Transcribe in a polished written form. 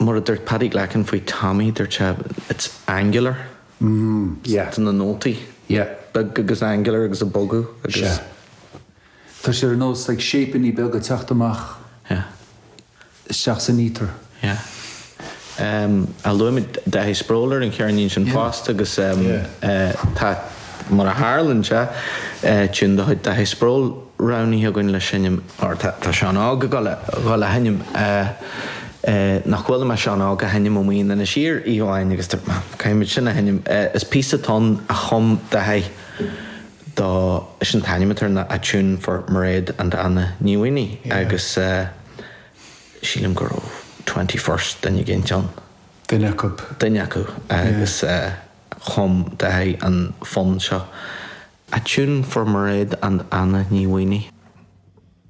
Mar a dúirt Paddy Glackin faoi Tommy, dúirt sé, it's angular. Yeah. Tá na nótaí Yeah. beag agus angular agus ag bogadh agus. Sea. Tá sé ar nós like shapeannaí beaga ag teacht amach Yeah. isteach san ether. Yeah. A luaigh muid Dáithí Sproule ar an cheirnín sin fosta agus tá, mar a tharlaíonn sé, tiún de chuid Dáithí Sproule roghnaithe againn le seinm, or tá Seán Óg ag dul a sheinm, nach chuala mé Seán Óg a sheinm amuigh in Inis Oírr oíche amháin agus caithfidh muid sin a sheinm. Is píosa atá ann a chum Dáithí do, is an t-ainm atá air ná A Tune for Mairéad and Anna Ní Mhaonaigh agus. Sílim go raibh 21st duine éigint ann. Duine acu. Duine acu agus chum Dáithí an fonn seo, A Tune for Mairéad and Anna Ní Mhaonaigh.